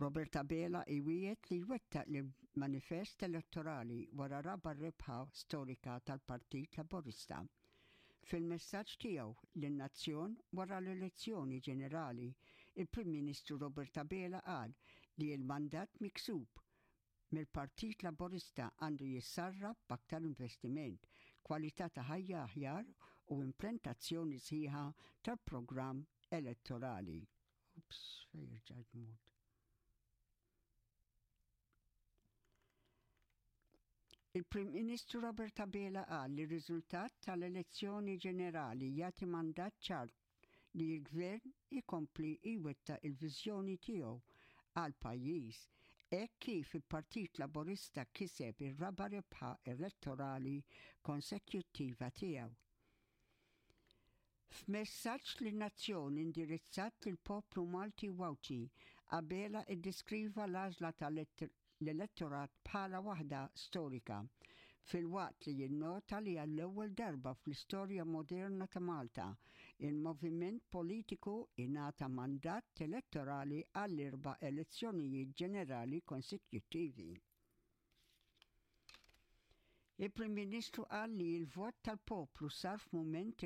Robert Abela iwiegħed li jwettaq l-manifest elettorali wara raba' rebħa storika tal-Partit Laburista. Fil-messaġġ tiegħu lin-nazzjon wara l-elezzjoni ġenerali, il-Prim Ministru Robert Abela qal li l-mandat miksub mill-Partit Laburista għandu jissarraf b'aktar investiment, kwalità ta' ħajja aħjar u implentazzjoni sħiħa tal-programm elettorali. Ups, fejn rġajt mort. Il-Prim Ministru Robert Abela qal li r-riżultat tal-elezzjoni ġenerali jagħti mandat ċar li l-Gvern ikompli jwettaq il-viżjoni tiegħu għall-pajjiż hekk kif il-Partit Laburista kiseb ir-raba' rebħa elettorali konsekjuttiva tiegħu. F'messaġġ lin-nazzjon indirizzat lill-poplu Malti u Għawdxi, Abela ddeskriva l-għażla tal-elettorat bħala waħda storika, filwaqt li jinnota li għall-ewwel darba fl-istorja moderna ta' Malta, il-moviment politiku ingħata mandat elettorali għall-erba' elezzjonijiet ġenerali konsekjuttivi. Il-Prim Ministru qal li l-vot tal-poplu sar f'mument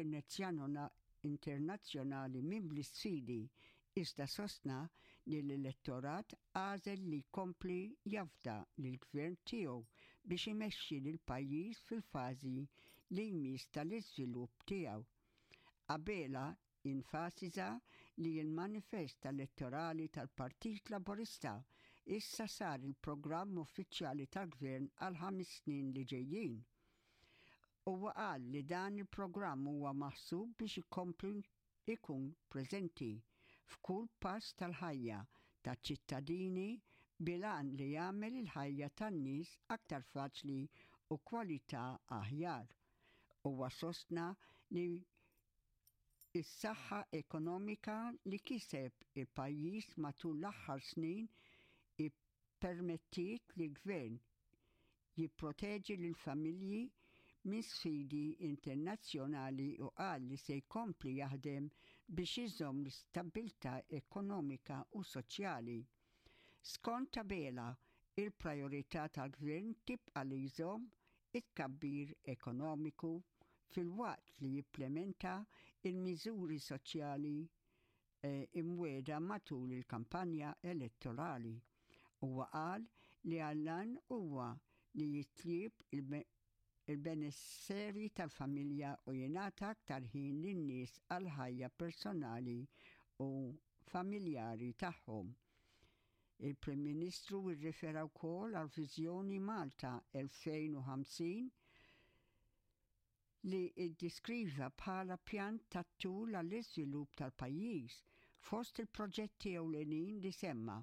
internazzjonali mimli sfidi iżda sostna li l-elettorat għażel li jkompli jafda lill-Gvern tiegħu biex imexxi lill-pajjiż fil-fażi li jmiss tal-iżvilupp tiegħu. Abela Enfasizza li l-manifest elettorali tal-Partit Laburista issa sar il-programm uffiċjali tal-Gvern għall-ħames snin li ġejjin. Huwa qal li dan il-programm huwa maħsub biex ikompli jkun preżenti f'kull pass tal-ħajja taċ-ċittadini bil-għan li jagħmel il-ħajja tan-nies aktar faċli u kwalità aħjar. Huwa sostna li Is-saħħa ekonomika li kiseb il-pajjiż matul l-aħħar snin ippermettiet lill-Gvern jipproteġi lill-familji minn sfidi internazzjonali u qal li se jkompli jaħdem biex iżomm l-istabbiltà ekonomika u soċjali. Skont Abela, il-prijorità tal-Gvern tibqa' li jżomm it-tkabbir ekonomiku filwaqt li jipplementa l-miżuri soċjali imwiegħda matul il-kampanja elettorali. Huwa qal li għall-għan huwa li jitjieb il-benesseri tal-familja u jingħata aktar ħin lin-nies għall-ħajja personali u familjari tagħhom. Il-Prim Ministru rrifera wkoll għall-Viżjoni Malta 2050 li ddiskriva bħala pjan tat-tul għall-iżvilupp tal-pajjiż. Fost il-proġetti ewlenin li semma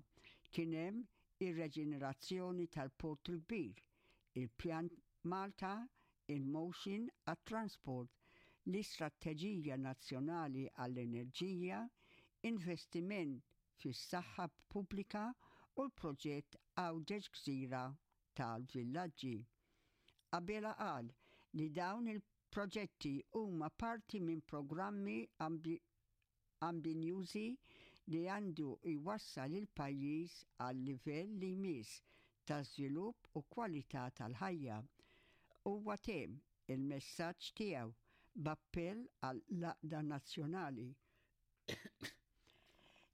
kien hemm ir-reġenerazzjoni tal-Port il-Kbir, il-Pjan Malta in Motion għat-Transport, l-Istrateġija Nazzjonali għall-Enerġija, investiment fis-saħħa pubblika u l-proġett Għawdex Gżira tal-Villaġġi. Abela qal li dawn il-proġetti huma parti minn programmi ambinjużi li għandu jwassal il-pajjiż għal livell li jmiss ta' żvilupp u kwalità tal-ħajja. Huwa temm il-messaġġ tiegħu b'appell għall-għaqda nazzjonali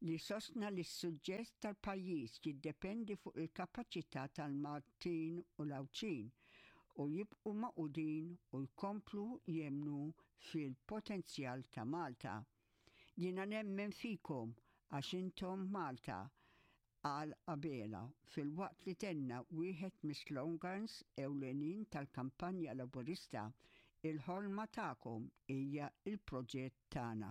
li sostna li s-suġġess tal-pajjiż jiddependi fuq il-kapaċità tal-Maltin u l-Għawdxin u jibqu magħqudin u jkomplu jemmnu fil-potenzjal ta' Malta. Jiena nemmen fikom għax intom Malta, qal Abela filwaqt li tenna wieħed mis-slogans ewlenin tal-kampanja Laburista, Il-ħolma tagħkom hija l-proġett tagħna.